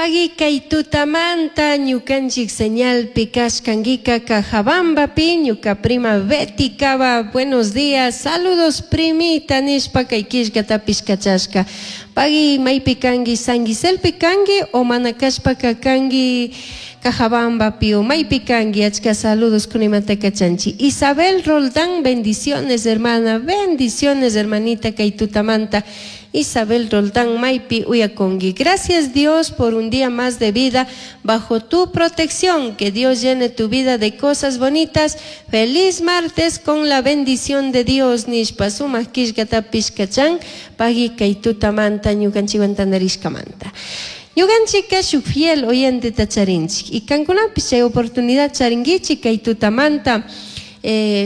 Pagui kay tutamanta ñukanchik señalpi kashkankika Cajabambapi ñuka prima Betty Cava, buenos días, saludos primita nishpa kay killkatapish kachashka. Pagui maypi kanki San Giselpi kanki o mana kashpaka kanki Cajabambapi o maypi kanki achka saludos kunimanta kachanchik. Isabel Roldán, bendiciones hermana, bendiciones hermanita kay tutamanta. Isabel Roldán maypi uyakunki. Gracias Dios por un día más de vida bajo tu protección. Que Dios llene tu vida de cosas bonitas. Feliz martes con la bendición de Dios. Nishpa sumak killkatapish kachan pagui kay tutamanta ñukanchikwan tantarishkamanta. Ñukanchikka shuk fiel oyenteta charinchik. Y kankunapish chay oportunidad charinkichik kay tutamanta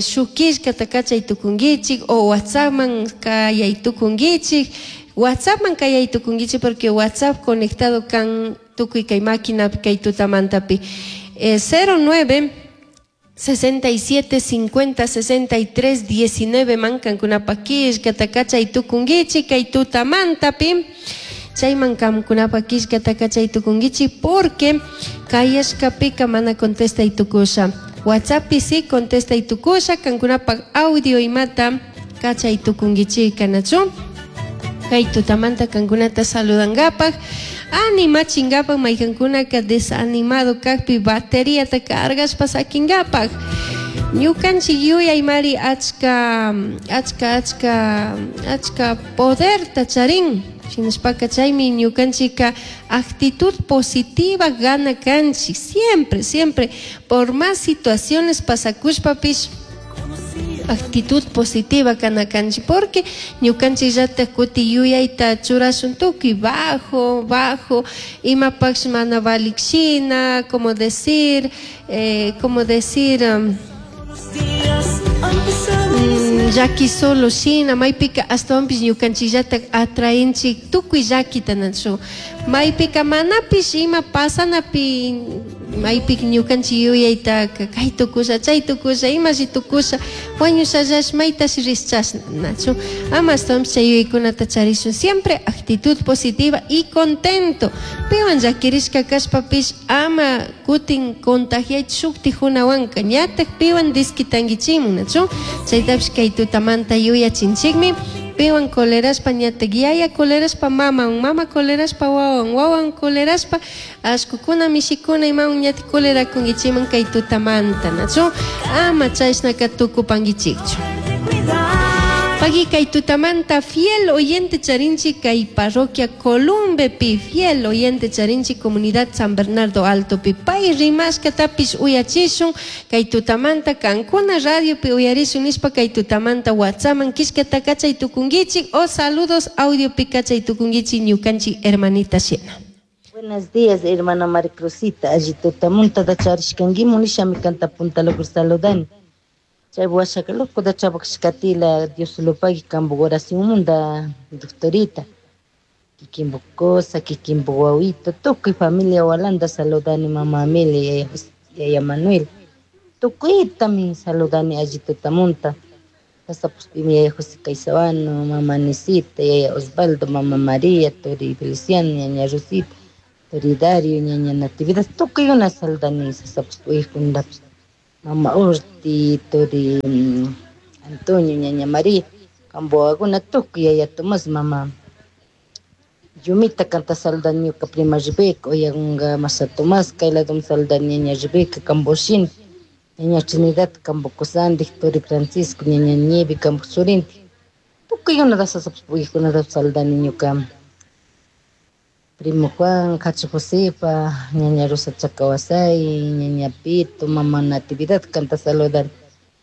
shuk killkata kachay tukunkichik o WhatsAppman kayay tukunkichik. WhatsAppman kayay tukunkichik porque WhatsApp conectado kan tukuy kay maquinapi kay tutamantapi. 09 67 50 63 19 man kankunapak killkata kachay tukunkichik kay tutamantapi. Chayman kankunapak killkata kachay tukunkichik porque kayashkapika mana contestay tukusha. WhatsAppi sí contestay tukusha kankunapak audio imata kachay tukunkichik kanachu. Kay tutamanta kankunata saludankapak animachinkapak maykankunaka desanimado kakpi bateriata cargashpa sakinkapak. Ñukanchik yuyaymari achka achka achka achka poderta charin. Shinashpaka chaymi ñukanchikka actitud positiva gana kanchik siempre, siempre por más situaciones pasakushpapish actitud positiva kana kanchik porque ñukanchikllatak kuti yuyayta churashun tukuy bajo, bajo, imapaksh mana valik shina, como decir, llaki solo shina, maypika ashtawanpish ñukanchikllatak atraenchik tukuy llakita nachu. Maypika manapish ima pasanapi maypika ñukanchik yuyayta kay tukusha, chay tukusha, imashi tukusha, wañushallash maytashi rishchashna nachu. Ama ashtawanpish chay yuyaykunata charishun. Siempre actitud positiva y contento. Piwan llakirishka kashpapish ama kutin contagiaychi shuktijunawanka ñatak piwan disquitankichimun nachu. Chaytapish kay tutamanta yuyachinchikmi. Piwan colerashpa ñatak yaya colerashpa mamawan, mama colerashpa wawan, wawan colerashpa ashkukuna mishikuna imawan ñatak colerakunkichiman kay tutamanta nachu. Ama chashnaka tukupankichikchu. Pagui kay tutamanta fiel oyente charinchik kay parroquia Columbepi fiel oyente charinchik comunidad San Bernardo Altopi pay rimashkatapish uyachishun kay tutamanta kankuna radiopi uyarishun nishpa kay tutamanta WhatsAppman killkata kachay tukunkichik o saludos audiopi kachay tukunkichik ñukanchik hermanita shina. Buenos días, hermana María Cruzita. Alli tutamunta da charishkankimun nishami kanta punta logro saludani. Chay washaka loco da chabakshkatila Dios lo pague kambu oración munda doctorita. Kikimbo cosa, kikimbo wawito, tukuy familia walanda saludani mama Amelia, yaya Manuel. Tukuytami saludani alli tutamunta. Hasta pues yaya José Caizabano, mama Nisita, yaya Osvaldo, mama María, Tori Feliciano, ñaña Rosita, Tori Dario, ñaña Natividad, tukuyuna saludani sasa pues pues mama Orti, Tori Antonio, ñaña María, Camboaguna, tukuy yaya Tomás, mama Yumita canta saludani ñuka prima Rebeca, oyagunga masa Tomás, kayladum saludani ñaña Rebeca, Camboshin, ñaña Trinidad, Cambocosandi, Tori Francisco, ñaña Nieve, Cambosurinti. Tukuyuna da sasa pues da saludani ñuka primo Juan, Cacho Josefa, ñaña Rosa Chacawasay, ñaña Pito, mama Natividad, canta saludar.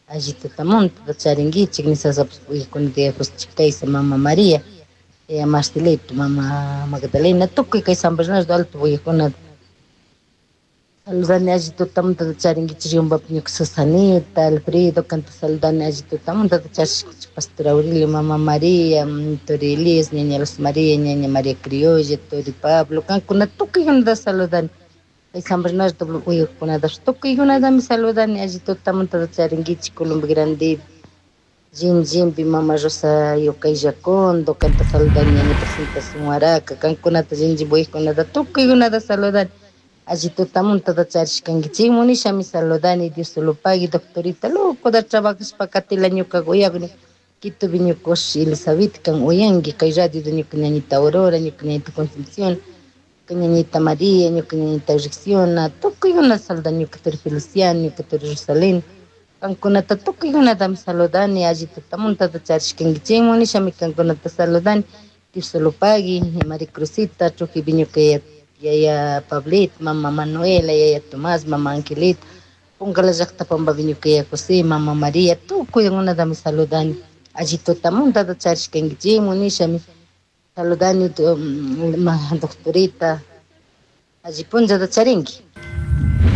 Allí tutamunta, charinguichik, ni sasa pues de José Chicaiza, mama María, ella Marcelito, mama Magdalena, tukuy kay San Bernardo Alto uyajuna. Saludani allí tutamunta charinguichik, yumba ñuka Susanita, Alfredo, canta saludani allí tutamunta charishkichik, Pastor Aurelio, mama María, Tori Elías, ñaña Luz María, ñaña María Criolla, Tori Pablo, kankuna tukuykunata saludani. Kay San Bernardo uyajkunata tukuykunatami saludani allí tutamunta charinguichik, Colombia Grande. Jinjinpi mama Rosa Yocayllacondo, kanta saludani ñaña presentación Huaraca, kankunata jinjin tukuykunata saludani. Alli tutamuntata charishkankichikmu nishami saludani, Dios lo pague, doctorita, loco da trabajashpa katila ñuka uyakuni. Quitopi ñuka ushi Elizabeth kan uyanki, kay radio de ñuka ñañita Aurora, ñuka ñañita Concepción, ñuka ñañita María, ñuka ñañita Ricciona, tukuykuna saludani, ñuka turi Feliciano, ñuka turi Rosalén. Kankunata tukuykunatami saludani, alli tutamuntata charishkankichikmu nishami kankunata saludani. Dios lo pague, María Cruzita, Trujillo ñuka yaya Pablit, mama Manuela, yaya Tomás, mama Angelita, Pungala llaqta pambapi ñuka yaya José, mama María, tukuykunatami saludani. Alli tutamuntata charishkankichikmu nishami saludani, doctorita, alli punllata charinki.